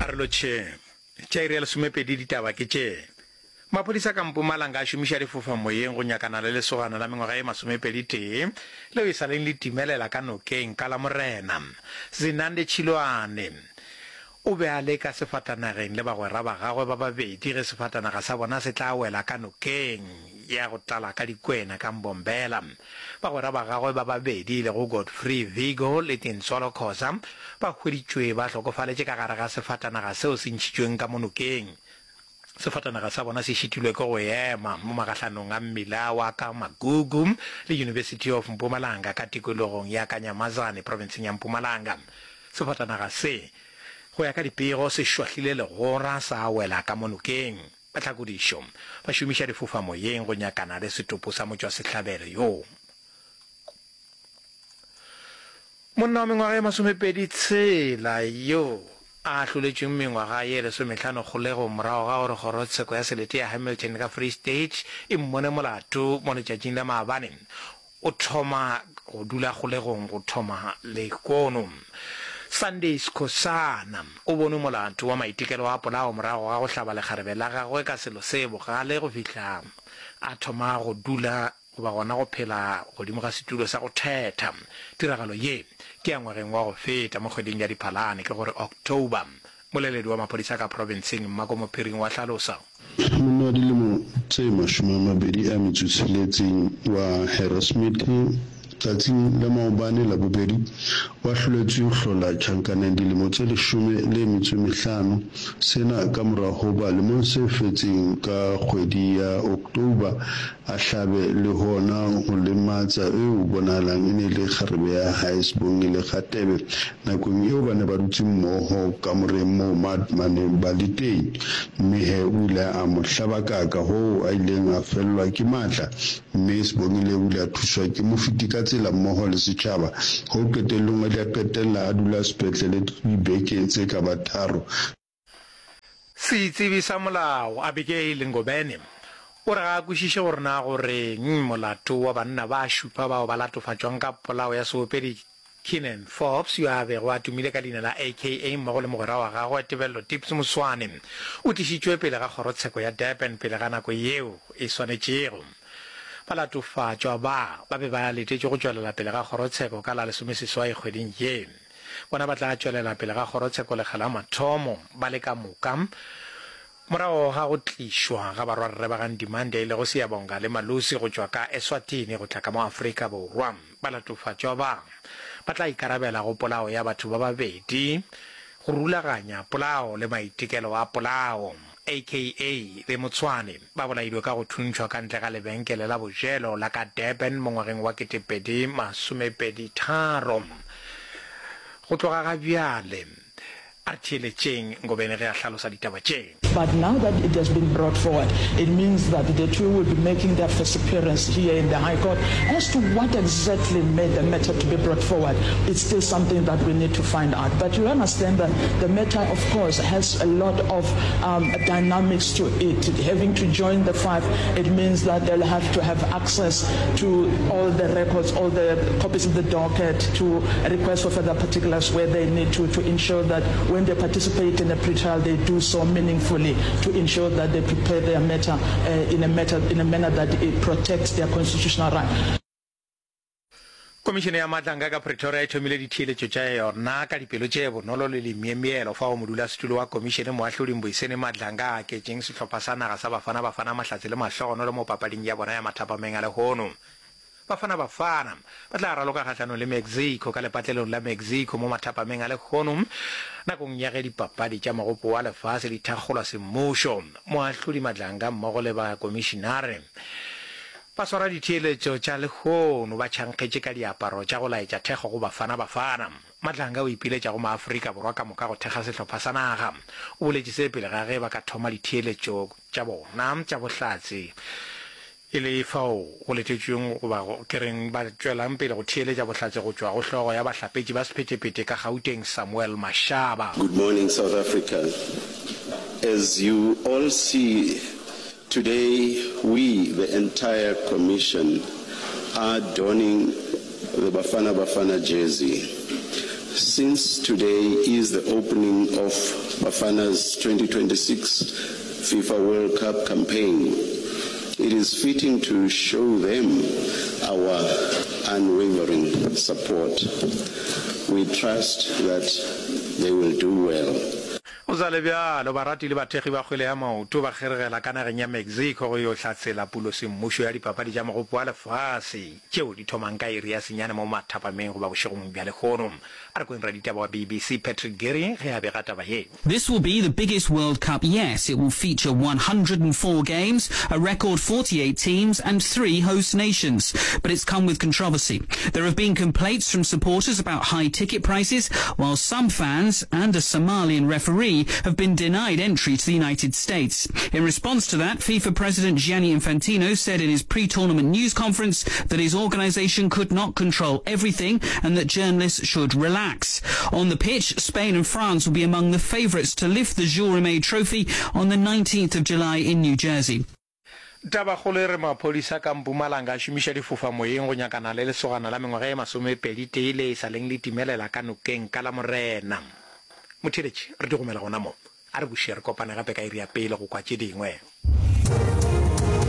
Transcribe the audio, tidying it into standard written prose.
A re lotšheng. Tša iri ya lesomepedi ditaba ke tše. Maphodisa ka Mpumalanga a šomiša difofamoyeng go nyakana le lesogana la mengwaga ye masomepeditee leo e sa leng le timelela ka nokeng ka Lamorena. Zinande Tšhilwane o be a le ka sefatanageng le bagwera ba gagwe ba babedi ge sefatanaga sa bona se tla wela ka nokeng ya go tlala ka dikwena ka Mbombela. Bagwera ba gagwe ba babedi e lego Godfrey Vigo le Tintswalo Khoza ba hweditšwe ba hlokofaletše ka gare ga sefatanaga seo se ntšhitšweng ka mo nokeng. Sefatanaga sa bona se šitilwe ke go ema mo magahlanong a mmila wa ka Magugu le University of Mpumalanga ka tikologong ya Kanyamazane profenseng ya Mpumalanga. Sefatanaga se, go ya ka dipego, se šwahlile legora sa wela ka mo nokeng. Bahlakodišo ba šomiša difofamoyeng go nyakana le setopo sa motšwasehlabelo yoo. Monna wa mengwaga ye masomepedi tshela yo a ahloletšweng mengwaga ye lesomehlano kgolegong morago ga gore kgorotsheko ya selete ya Hamilton ka Free State e mmone molato mo letšatšing la maabane, o thoma go dula kgolegong go thoma lehono. Sunday Skhosana o bonwe molato wa maitekelo a polao morago ga go hlaba lekgarebe la gagwe ka selo se bogale go fihla a thoma go dula goba gona go phela godimo ga setulo sa go thetha. Tiragalo ye ke ya ngwageng wa go feta mo kgweding ya Diphalane, ke gore October. Moleledi wa maphodisa ka profenseng, Mmako Mophiring wa hlalosa. Monna wa dilemo tse 20 a metso tsheletseng wa Harrismith tsatsing la maobane Labobedi o ahloletswe ho hlola tjhankaneng dilemo tse leshome le metso e mehlano, sena ka mora hoba lemong se fetseng ka kgwedi ya October a hlabe le hona ho lematsa eo bonahalang e ne e le kgarebe ya hae Sibongile Kgatebe nakong eo ba ne ba dutse mmoho kamoreng moo ba neng ba le teng. Mme he o ile a mo hlabakaka hoo a ileng a fellwa ke matla mme Sibongile o ile a thuswa ke mofeti ka tsela mmoho le setjhaba hoo qetellong a ile a qetella a dula sepetlele dibeke tse ka ba tharo. Setsebi sa molao, Abigail Ngobeni, o re ga a kwešiše gore na go reng molato wa banna ba šupa bao ba latofatšwang ka polao ya seopedi Keenan Forbes yo a bego a tumile ka leina la AKA mmogo le mogwera wa gagwe Tebello Tips Moswane o tlišitšwe pele ga kgorotsheko ya Durban pele ga nako yeo e swanetšego. Balatofatšwa ba ba be ba letetšwe go tšwelela pele ga kgorotsheko ka la lesomeseswai kgweding ye. Bona ba tla tšwelela pele ga kgorotsheko lekga la mathomo ba le ka moka morago ga go tlišwa ga barwarre ba ga Ndimande e lego Siyabonga le Malusi go tšwa ka Eswatini go tla ka mo Afrika Borwa. Balatofatšwa ba ba tla ikarabela go polao ya batho ba babedi, go rulaganya polao le maitekelo a polao. AKA le Motshwane ba bolailwe ka go thuntšhwa ka ntle ga lebenkele la bojelo la ka Durban mo ngwageng wa 2023. Go tloga ga bjale, a re theeletšeng Ngobeni ge a hlalosa ditaba tše. But now that it has been brought forward, it means that the two will be making their first appearance here in the High Court. As to what exactly made the matter to be brought forward, it's still something that we need to find out. But you understand that the matter, of course, has a lot of um, dynamics to it. Having to join the five, it means that they'll have to have access to all the records, all the copies of the docket, to request for further particulars where they need to, to ensure that when they participate in a pre-trial, they do so meaningfully to ensure that they prepare their matter uh, in, a matter, in a manner that it protects their constitutional right. Komišene ya Matlanga ka Pretoria e thomile ditheeletšo tša yona ka dipelo tše bonolo le lemyemyelo fao modulasetulo wa komišene Moahlodi Mbuyiseni Madlanga a aketšeng sehlopha sa naga sa Bafana Bafana mahlatse le mahlogonolo mo papading ya bona ya mathapameng a lehono. Bafana Bafana ba tla raloka kgahlanong le Mexico ka lepatlelong la Mexico mo mathapameng a lehono nakong ya ge dipapadi tša Mogopo wa Lefase di thakgolwa semmušo. Moahlodi Madlanga mmogo le bakomišinare Ba swara ditheeletšo tša lehono ba tšhankgetše ka diaparo tša go laetša thekgo go Bafana Bafana. Madlanga o ipiletša go maAfrika Borwa ka moka go thekga sehlopha sa naga. O boletše se pele ga ge ba ka thoma ditheeletšo tša bona tša bohlatse e le fao go letetšweng goba ke reng ba tšwelang pele go theeletša bohlatse go tšwa go hlogo ya bahlapetši ba sephethephethe ka Gauteng Samuel Mashaba. Good morning South Africa. As you all see Today we, the entire commission, are donning the Bafana Bafana jersey. Since today is the opening of Bafana's 2026 FIFA World Cup campaign, it is fitting to show them our unwavering support. We trust that they will do well. Go sa le bjalo, barati le bathekgi ba kgwele ya maoto ba kgeregela ka nageng ya Mexico go yo hlatsela pulosemmušo ya dipapadi tša Mogopo wa Lefase tšeo di thomang ka iri ya senyane mo mathapameng goba bošegong bja lehono. A re kweng raditaba wa BBC Patrick Geary ge a bega taba ye. This will be the biggest World Cup yet. It will feature 104 games, a record 48 teams and three host nations. But it's come with controversy. There have been complaints from supporters about high ticket prices, while some fans and a Somalian referee have been denied entry to the United States. In response to that, FIFA President Gianni Infantino said in his pre-tournament news conference that his organization could not control everything and that journalists should relax. On the pitch, Spain and France will be among the favourites to lift the Jules Rimet Trophy on the 19th of July in New Jersey. Tabakgolo e re maphodisa ka Mpumalanga a šomiša difofamoyeng go nyakana le lesogana la mengwaga ye masomepeditee le e sa leng le timelela ka nokeng ka Lamorena. Motheeletši, re di gomela gona mo. A re buše re kopane gape ka iri ya pele go kwa tše dingwe.